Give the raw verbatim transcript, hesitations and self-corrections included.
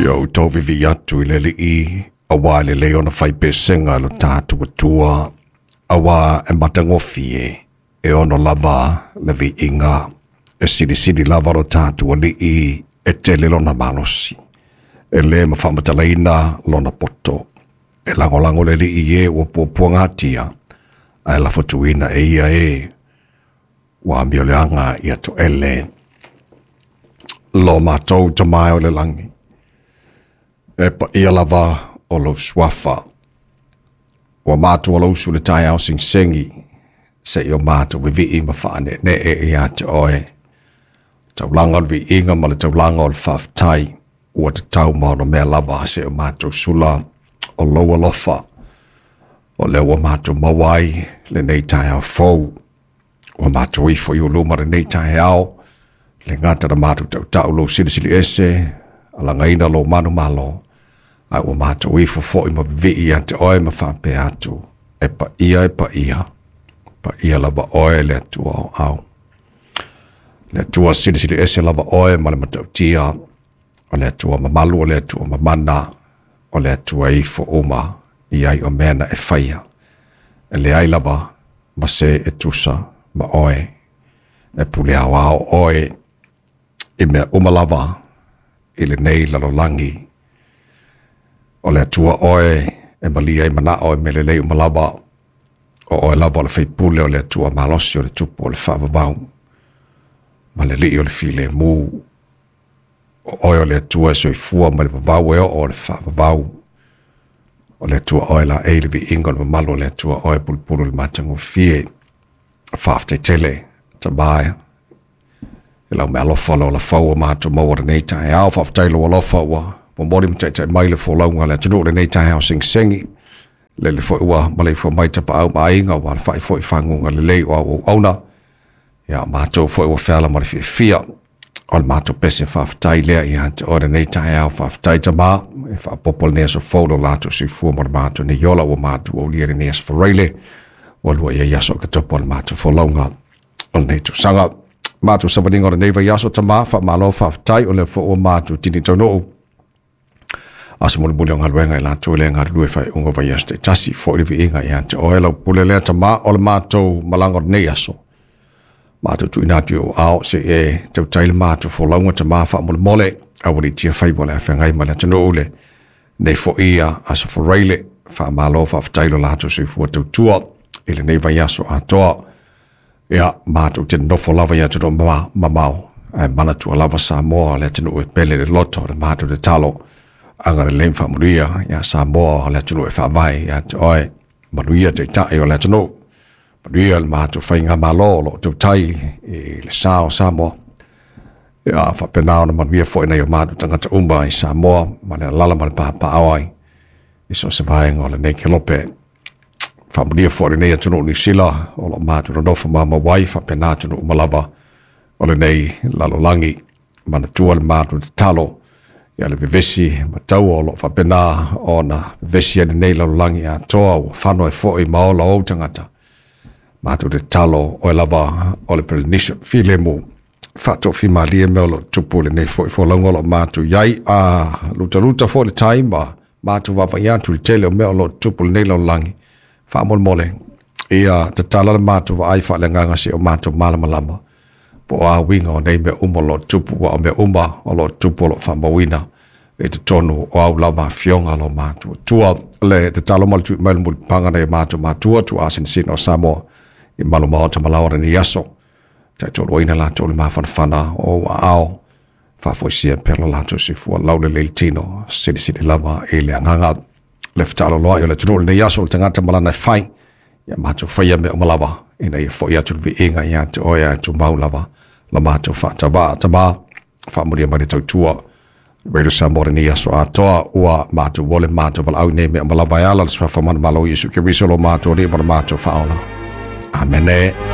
Ia outou vivi'i atu i le Alii auā e lelei ona faipesega i lo tatou Atua, auā e matagofie e ono lava le viiga, e silisili lava lo tatou Alii e tele lona malosi, e lē mafaamatalaina lona poto. E lagolago le Alii i e ua puapuagatia, ae lafotuina e ia e ua amioleaga ia to'ele. Lo matou Tama e o le lagi, e paia lava o lou suafa. Ua matou alausu le taeao segisegi, seia o matou vivii ma faaneenee ia te oe. Taulaga o le viiga ma le taulaga o le faafetai ua tatau ma ona mea lava seia o matou sula o lou alofa. O lea ua matou maua ai lenei taeao fou. Ua matou ifo i luma lenei taeao, le gata na matou tautau lou silisili ese, alagaina lou manumalo, ae ua matou ifo foi ma vivii ia te oe ma faapea atu, e paia e paia, paia lava oe le Atua o au. Le Atua silisili ese lava oe ma le matautia, o le Atua mamalu, o le Atua mamana, o le Atua ifo uma i ai o mea na e faia. E leai lava ma se e tusa ma oe, e pule aoao oe i mea uma lava i lenei lalolagi. O le Atua oe e malia i manao e mea lelei uma lava, o oe lava o le faipule o le Atua malosi o le tupu o le faavavau, ma le Alii o le filemu. O oe o le Atua e soifua mai le vavau e oo o le faavavau. O le Atua oe laei le viiga o le mamalu, o le Atua oe pulupulu le matagofie. Faafetai tele Tama e lau meaalofa o le olafau o matou maua lenei taeao. Faafetai lou alofa ua momoli ma taitai mai le folauga a le atunuu lenei taeao segisegi. Lele foi ua maleifua mai tapaau ma aiga ua alafai foi faguga lelei o au auauna. Ia matou foi ua feala ma le fiafia o le matou pese faafetai lea ia te oe lenei taeao. Faafetai Tama e faapopo lenei aso fou lo latou soifua ma le matou nei ola ua matou aulia lenei aso Faraile ua lua i ai aso o katopo o le matou folauga o lenei tausaga. Matou savaliga o lenei vaiaso Tama, faamalo faafetai o lea foi ua matou tini taunuu. Aso mulimuli o galuega i latou le galulue faaiuga o vaiaso taitasi, foi le viiga ia te oe lau pule lea Tama o le matou malaga o lenei aso. Matou tuuina atu i ou ao se e tautai le matou folauga Tama faamolemole, aualiitia faiva o le afeagai ma le atunuu le nei foi ia aso Faraile. Faamalo faafetai lo latou soifua tautua i lenei vaiaso atoa. Ia matou te nofo lava i atunuu mamao, ae manatua lava Samoa le atunuu e pele le loto le matou tatalo. Agalelei ma faamanuia ia Samoa le atunuu e faavae ia te oe. Manuia taitai o le atunuu, manuia le matou faigamalo o loo tautai i le sa o Samoa. Ia faapena ona manuia foi nai o matou tagata uma i Samoa ma le alaala ma le papaao ai i so o se vaega o lenei kelope. Faamanuia foi lenei atunuu Niu Sila o loo matou nonofo mamau ai, faapena atunuu uma lava o lenei lalolagi. Manatua le matou tatalo ia le vevesi ma taua o loo faapena ona vevesi ai lenei lalolagi atoa ua fano ai foi ma ola ou tagata. Matou tatalo oe lava o le Polynesia filemu faatofimalie mea o loo tupu lenei foi folauga o loo matou iai. A lutaluta foi le tai ma matou vaavaai atu i le tele o mea o loo tupu lenei lalolagi. Faamolemole ia tatala le matou vaai faaleagaga se o matou malamalama po o a uiga o nei mea uma o loo tupu, ua o mea uma o loo tupu o loo faamauina i totonu o au lava afioga lo matou Atua. Le tatalo ma le tui mai le mulipaga nai o matou matua tuuasinasina o Samoa i malu maota ma laoa lenei aso. Taitoluaina latou le mafanafana o ou aao, faafoisia pea lo latou soifua laulelei le tino, silisili lava i le agaga. Le fetalaloai o le atunuu lenei aso o le tagata ma lana e fai, ia matou faia mea uma lava ina ia foi atu le viiga ia te oe ae tumau lava la matou faatavaa. Tama, faamanuia mai le tautua Radio Samoa lenei aso atoa ua matou ole matou valaau nei mea uma lava e ala le suafa manumalo o Iesu Keriso lo matou Alii ma lo matou Faaola. Amene.